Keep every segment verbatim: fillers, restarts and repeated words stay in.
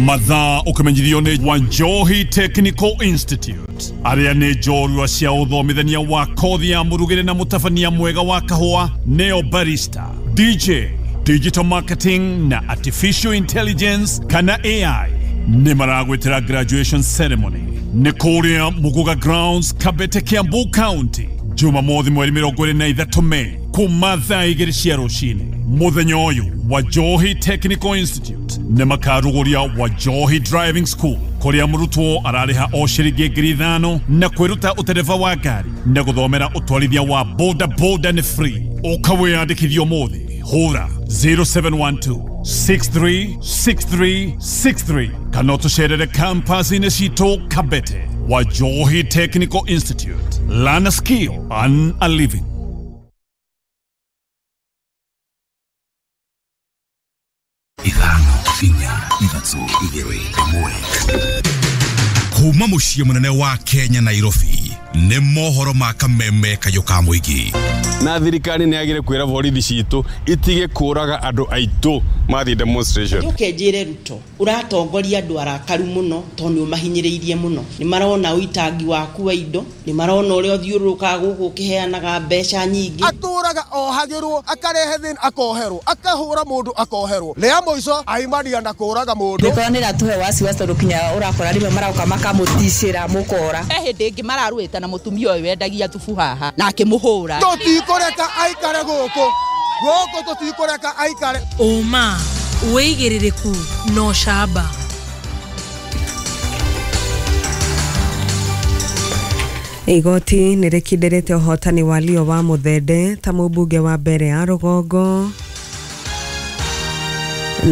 Mathaa ũkĩmenyithio nĩ Wanjohi Technical Institute arĩa nĩ njorua cia ũthomithania wa kothi ya mũrugĩre na mũtabania mwega wa kahũa neo barista, D J, digital marketing na artificial intelligence kana A I. Nĩ maragwĩtĩra graduation ceremony nĩ kũrĩa Muguga Grounds, Kabete, Kiambu County, Jumamothi mweri mĩrongo ĩrĩ na ithatũ Mei kuma thaa igĩrĩ cia rũcinĩ. Mũthenya ũyũ Wajohi Technical Institute nĩ makarugũria Wajohi Driving School kũrĩa mũrutwo ararĩha o ciringi ngiri ithano na kwĩruta ũtereba wa ngari na gũthomera ũtwarithia wa boda boda nĩ free. Ũka wĩyandĩkithie ũmũthĩ, hũra zero seven one two six three six three six three kana ũtũcerere campus-inĩ citũ Kabete. Wajohi Technical Institute, learn a skill, earn a living. Ithano, inya, ithatũ, igĩrĩ, ĩmwe. Kuma mũciĩ mũnene wa Kenya, Nairobi, nĩ mohoro ma kameme kayũ ka mũingĩ. Na thirikari nĩ yagĩrĩire kwĩra borithi citũ itige kũraga andũ aitũ mathiĩ demonstration. Njoke njĩre Ruto, ũratongoria andũ arakaru mũno tondũ nĩ ũmahinyĩrĩirie mũno. Nĩ marona ũitangi waku wa indo, nĩ marona ũrĩa ũthiũrũrũkaga gũkũ ũkĩheanaga mbeca nyingĩ. Atũraga ohagĩrwo, akarehe thĩna akoherwo, akahũra mũndũ akoherwo, rĩa mũico aimania na kũraga mũndũ. Mĩkora nĩ ĩratũhe wasiwasi tondũ kinya ũrakora rĩmwe maroka makamũticĩra mũkora. He hĩndĩ ĩngĩ mararũĩte na mũtumia ũyũ wendagia thubu haha na akĩmũhũra. Tũtikũreka aikare gũkũ gũkũ, tũtikũreka aikare. Ũma, wĩigĩrĩrĩku na ũcamba. Igoti nĩ rĩkindĩrĩte ũhotani wa Leo wa Muthende ta mũmbunge wa mbere ya rũgongo.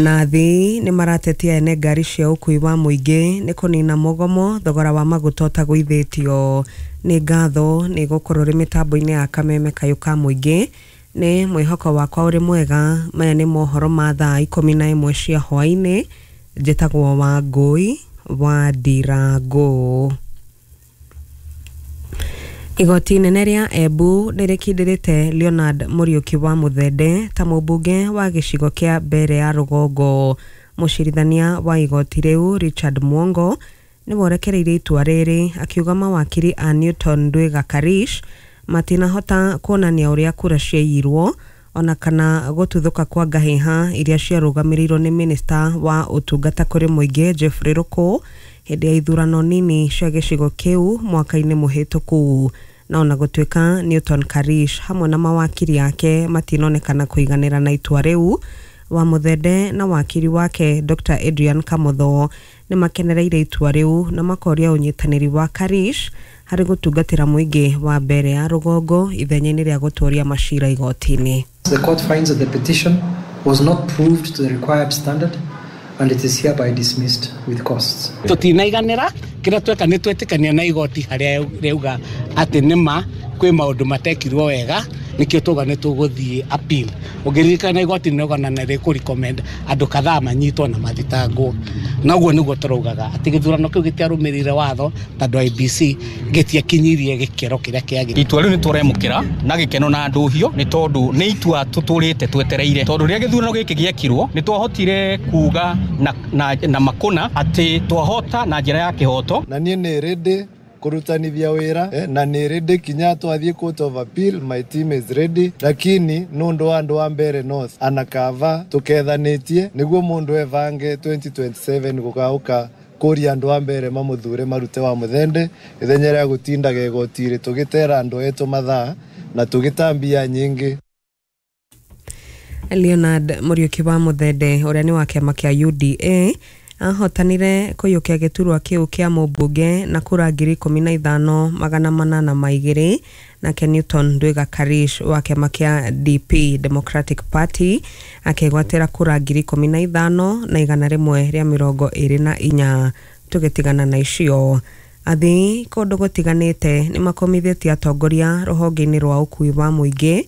Nathi nĩ maratetia ene ngari cia ũkui wa mũingĩ nĩ kũnina mũgomo thogora wa maguta ũtagũithĩtio. Nĩ ngatho nĩ gũkorwo ũrĩ mĩtambo-inĩ ya kameme kayũ ka mũingĩ. Nĩ mwĩhoko wakwa ũrĩ mwega. Maya nĩ mohoro ma thaa ikũmi na ĩmwe cia hwaĩ-inĩ. Njĩtagwo Wangũi wa Ndirangũ. Igoti inene rĩa Embu nĩ rĩkindĩrĩte Leonard Mũriũki wa Muthende ta mũmbunge wa gĩcigo kĩa mbere ya rũgongo. Mũcirithania wa igoti rĩu Richard Mwongo nĩwe ũrekereirie itua rĩrĩ, akiuga mawakiri a Newton Ndwiga Karish matinahota kuonania ũrĩa kura ciaiyirwo ona kana gũtuthũka kwa ngahĩha iria ciarũgamĩrĩirwo nĩ minista wa ũtungata kũrĩ mũingĩ Jeffrey Ruku hĩndĩ ya ithurano nini cia gĩcigo kĩu mwaka-inĩ mũhĩtũku. Na ona gũtuĩka Newton Karish hamwe na mawakiri ake matinonekana kũiganĩra na itua rĩu, wa Muthende na wakiri wake Doctor Adrian Kamotho nĩ makenereire itua rĩu na makoria ũnyitanĩri wa Karish harĩ gũtungatĩra mũingĩ wa mbere ya rũgongo ithenya-inĩ rĩa gũtũria macira igoti-inĩ. The court finds that the petition was not proved to the required standard and it is hereby dismissed with costs. Tutinaiganĩra kĩrĩa tweka nĩ twetĩkania na igoti harĩa rĩauga atĩ nĩma kwĩ maũndũ matekirwo wega, nĩkĩo tuga nĩ tũgũthiĩ appeal. Ũngĩririkana igoti nĩ rĩauga na nĩ rĩkũ recommend andũ kadhaa manyitwo na mathitangwo, na ũguo nĩguo tũraugaga atĩ gĩthurano kĩu gĩtiarũmĩrĩire watho tondũ I E B C gĩtiakinyirie gĩkĩro kĩrĩa kĩagĩrĩire. Itua rĩu nĩ tũremũkĩra na gĩkeno na ndũhio nĩ tondũ nĩ itua tũtũrĩte twetereire, tondũ rĩrĩa gĩthurano gĩkĩ gĩekirwo nĩ twahotire kuga na, na, na makũna atĩ twahota na njĩra ya kĩhoto. Na niĩ nĩ ready kurutanithia wira eh, na nĩ ready kinya twathiĩ court of appeal, my team is ready, lakini nundu wa andu wa Mbere North anakava tukethanĩtie nĩguo mũndũ evange twenty twenty-seven gũgauka kũria andũ a Mbere mamũthure marute wa Muthende ithenya rĩa gũtindaga igoti-rĩ tũgĩtera andũ etũ mathaa na tũgĩtambia nyingĩ. Leonard Mũriũki wa Muthende ũrĩa nĩ wa kĩama kĩa U D A ahotanire kũiyũkia gĩturwa kĩu kĩa mũmbunge na kura ngiri ikũmi na ithano magana manana ma igĩrĩ, nake Newton Ndwiga Karish wa kĩama kĩa D P, Democratic Party, akĩgwatĩra kura ngiri ikũmi na ithano na igana rĩmwe rĩa mĩrongo ĩrĩ na inya. Tũgĩtigana na icio, athii kũndũ gũtiganĩte nĩ makomithĩtie atongoria rũhonge-inĩ rwa ũkui wa mũingĩ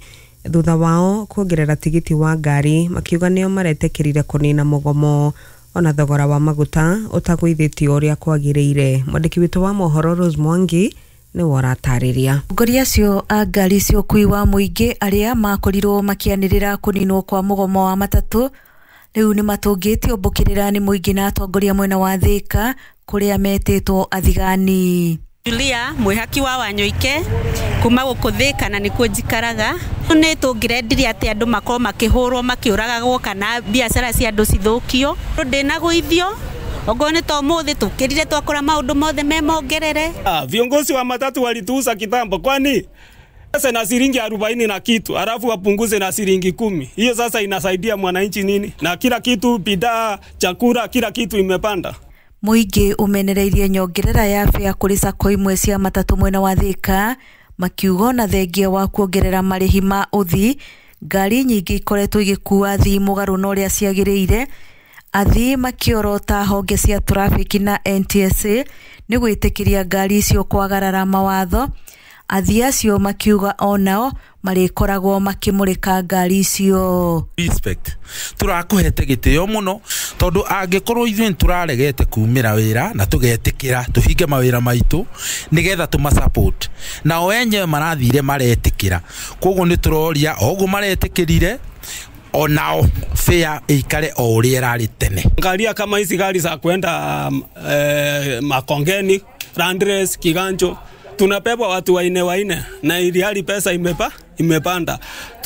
thutha wao kuongerera tigiti wa ngari, makiuga nĩo maretĩkĩrire kũnina mũgomo ona thogora wa maguta ũtagũithĩtio ũrĩa kwagĩrĩire. Mwandĩki witũ wa mohoro Rose Mwangi nĩwe ũratarĩria. Atongoria acio a ngari cia ũkui wa mũingĩ arĩa makorirwo makĩanĩrĩra kũninwo kwa mũgomo wa matatũ Rĩu nĩ matũngĩtio mbũkĩrĩra nĩ mũingĩ na atongoria mwena wa Thika kũrĩa metĩtwo athigani. Julia mwihaki wa Wanyoike kuma gũkũ Thika na nĩkuo njikaraga. Nĩ tũngĩrendirie atĩ andũ makorwo makĩhũrwo makĩũragagwo kana biacara cia andũ cithũkio. Ndĩnagũithio ogo nĩ to mũthĩ tũkĩrire twakora maũndũ mothe me mongerere. Ah, viongozi wa matatu walituuza kitambo, kwani sasa na shilingi arobaini na kitu alafu wapunguze na shilingi kumi. Hiyo sasa inasaidia mwananchi nini? Na kila kitu, bidhaa, chakula, kila kitu imepanda. Mũingĩ ũmenereirie nyongerera ya bĩa kũrĩ sacco imwe cia matatũ mwena wa Thika makiuga ona thengia wa kuongerera marĩhi ma ũthii ngari nyingĩ ikoretwo igĩkua athii mũgarũ na ũrĩa ciagĩrĩire. Athii makĩorota honge cia trafiki na N T S A nĩ gwĩtĩkĩria ngari icio kwagarara mawatho. Athii acio makiuga onao marĩkoragwo makĩmũrĩka ngari icio. Respect tũrakũhete gĩtĩo mũno tondũ angĩkorwo ithuĩ nĩtũraregete kumĩra wĩra na tũgetĩkĩra tũhinge mawĩra maitũ nĩgetha tũma support nao enyewe marathire maretĩkĩra, koguo nĩtũroria o ũguo maretĩkĩrire onao fare ĩikare o ũrĩa ĩrarĩ tene. Angalia kama hizi gari za kwenda eh, Makongeni, Landres, Kiganjo tunabeba watu waine waine na ili hali pesa imepa imepanda.